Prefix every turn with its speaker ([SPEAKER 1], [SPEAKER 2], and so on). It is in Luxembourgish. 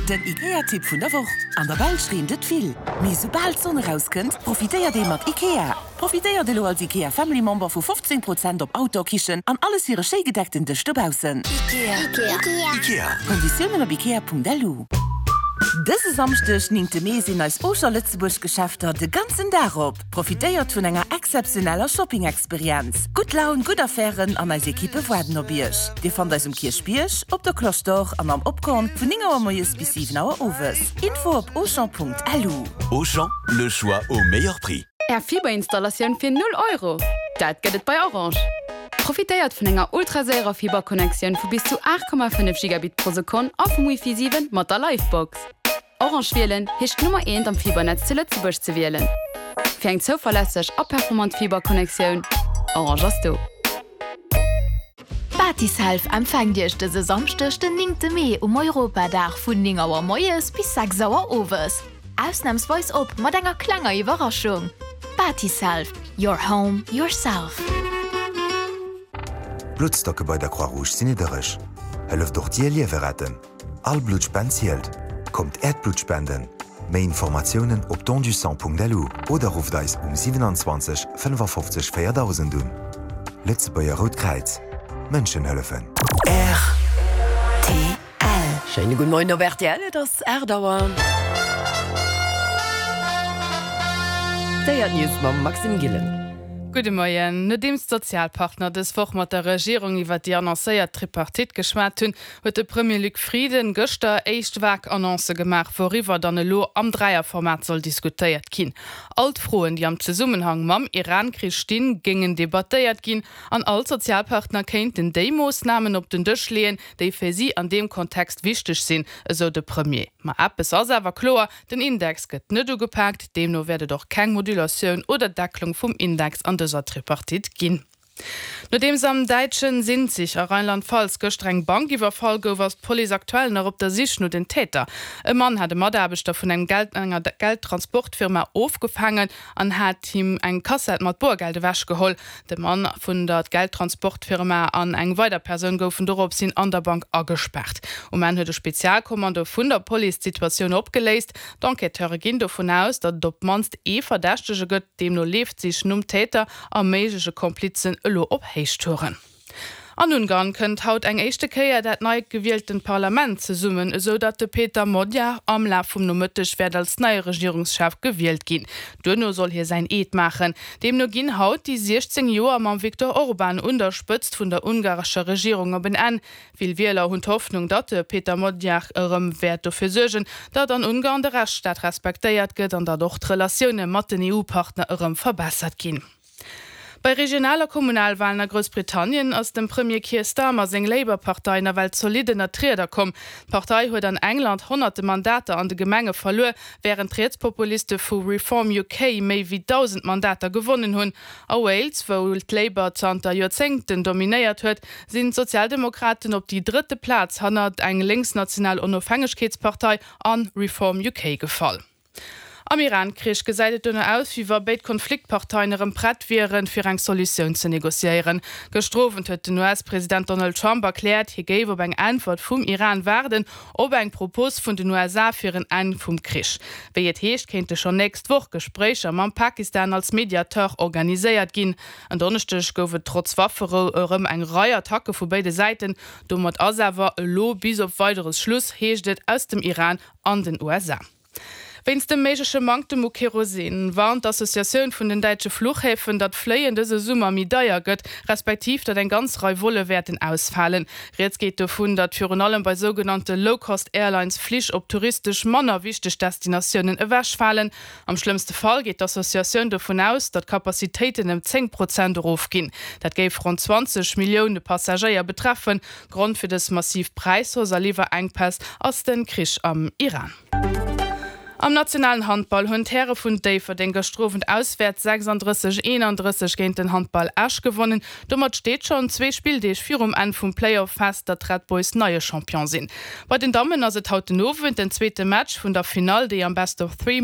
[SPEAKER 1] Den IKEA-Tipp vun der Woch, An der Belsch reent et vill, mee soubal d'Sonn erauskënnt, profitéiert ee mat IKEA. Profitéiert elo als IKEA Family Member vu 15 Prozent op Outdoor-Kichen an alles fir e schéi gedeckten Dësch dobaussen.
[SPEAKER 2] Ikea.
[SPEAKER 1] Konditiounen op ikea.lu. Dëse Samschdeg, 9 Mee, sinn eis Auchan Lëtzebuerg Geschäfter de ganzen Dag op. Profitéiert vun enger exzeptioneller Shopping-Experienz. Gutt Laun, gutt Affären an eis Ekippe waarden op Iech. Dir fannt eis um Kierchbierg, op der Cloche d'Or an am Opkorn vun 9 Auer moies bis 7 Auer owes. Info op auchan.lu.
[SPEAKER 2] Auchan, le choix au meilleur prix.
[SPEAKER 3] Är Fiberinstallatioun fir 0 Euro? Dat gëtt et bei Orange! Profitéiert vun enger ultraséierer Fiberconnectioun vu bis zu 8,5 Gigabit pro Sekonn a vum Wifi 7 mat der Livebox. Orange wielen heescht d'Nummer eent am Fibernetz zu Lëtzebuerg ze wielen. Fir eng zouverlässeg a performant Fiberconnectioun, Orange ass do!
[SPEAKER 4] Batiself empfänkt Iech dëse Samschdeg den 9 Mee um Europadag vun 9 Auer moies bis 6 Auer owes. Ausnamsweis op mat enger klenger Iwwerraschung. Batiself, your home, yourself.
[SPEAKER 5] D'Bluttstocke bei der Croix-Rouge sinn niddereg. Hëlleft och Dir Liewe retten! All Bluttspend zielt! Kommt Äert Blutt spenden! Méi Informatiounen op dondusang.lu oder rufft eis um 27 55 4000 un. Lëtzebuerger Rout Kräiz, Mënschen hëllefen.
[SPEAKER 6] Rtl. Schéine gudde Moien op rtl, et ass 8 Auer. D'Éiert News mam Maxime Gillen.
[SPEAKER 7] Gudde Moien. Nodeems d'Sozialpartner dës Woch mat der Regierung iwwer déi annoncéiert Tripartite geschwat hunn, huet de Premier Luc Frieden gëschter éischt vag Annoncë gemaach, wouriwwer dann elo am Dräierformat soll diskutéiert ginn. All d'Froen, déi am Zesummenhang mam Iran-Krich stinn, géingen debattéiert ginn an all d'Sozialpartner kéinten déi Moossnamen op den Dësch leeën, déi fir si an deem Kontext wichteg sinn, esou de Premier. Ma eppes ass awer kloer, Den Index gëtt net ugepaakt, deemno wäert et och keng Modulatioun oder Decklung vum Index an dëser Tripartite ginn. Nodeems am däitschen Sinzig a Rheinland-Pfalz gëschter eng Bank iwwerfall gouf, ass d'Police aktuell nach op der Sich no den Täter. E Mann hat e Mataarbechter vun engem Geld enger Geldtransportfirma ofgefaangen an hat him eng Kassett mat Boergeld ewechgeholl. De Mann vun der Geldtransportfirma an eng weider Persoun goufen doropshin an der Bank agespaart. Um Enn huet e Spezialkommando vun der Police d'Situatioun opgeléist. D'Enquêteure ginn dovun aus, datt et op d'mannst ee Verdächtege gëtt. Deemno leeft d'Sich nom Täter a méigleche Komplizen elo op Héichtouren. An Ungarn kënnt haut eng éischte Kéier dat nei gewieltent Parlament zesummen, esou datt de Péter Magyar am Laf vum Nomëtteg wäert als neie Regierungschef gewielt ginn. Duerno soll hie säin Eed maachen. Deemno ginn haut déi 16 Joer mam Viktor Orban un der Spëtzt vun der ungarescher Regierung op en Enn. Vill Wieler hunn d'Hoffnung, datt de Péter Magyar erëm wäert dofir suergen, datt an Ungarn de Rechtsstaat respektéiert gëtt an datt och d'Relatioune mat den EU-Partner erëm verbessert ginn. Bei Regional a Kommunalwalen a Groussbritannien ass dem Premier Keir Starmer seng Labour-Partei nawell zolidd ënnert d'Rieder komm. D'Partei huet an England honnerte Mandater an de Gemenge verluer, wärend d'Rietspopuliste vu Reform UK méi wéi 1.000 Mandater gewonnen hunn. A Wales, wou d'Labour zanter Joerzéngten dominéiert huet, sinn d'Sozialdemokraten op déi drëtte Plaz hannert eng lénksnational Onofhängegkeetspartei a Reform UK gefall. Am Iran-Krich gesäit et dono aus, wéi wa béid Konfliktparteien erëm prett wieren, fir eng Solutioun ze negociéieren. Gëschter Owend huet den US-President Donald Trump erkläert, hie géif op eng Äntwert vum Iran waarden, op eng Propos vun den USA fir en Enn vum Krich. Wéi et heescht, kéinte schonn nächst Woch Gespréicher mam Pakistan als Mediateur organiséiert ginn. En Donneschdeg gouf et trotz Wafferou erëm eng Rei Attacke vu béide Säiten. Domat ass awer elo bis op Weideres Schluss, heescht et aus dem Iran an den USA. Wéinst dem méigleche Manktem u Kerosin warnt d'Associatioun vun den däitsche Fluchhäfen, datt Fléien dëse Summer méi deier gëtt, respektiv datt eng ganz Rei Volle wäerten ausfalen. Rieds geet dovun, datt virun allem bei sougenannte Low-Cost-Airlines Flich op touristesch manner wichteg Destinatiounen ewechfalen. Am schlëmmste Fall geet d'Associatioun dovun aus, datt d'Capacitéiten ëm 10 Prozent erofginn. Dat géif ronn 20 Millioune Passagéier betreffen. Grond fir dës massiv Präishausse a Liwwerenkpäss ass de Krich am Iran. Am nationalen Handball hunn d'Häre vun Déifferdeng gëschter Owend auswäerts 36, 31 géint den Handball Esch gewonnen. Domat steet schonn zwee Spilldeeg virum Enn vum Playoff fest, datt d'Red Boys neie Champion sinn. Bei den Dammen ass et haut den Owend den zweete Match vun der Finall, déi am Best of Three.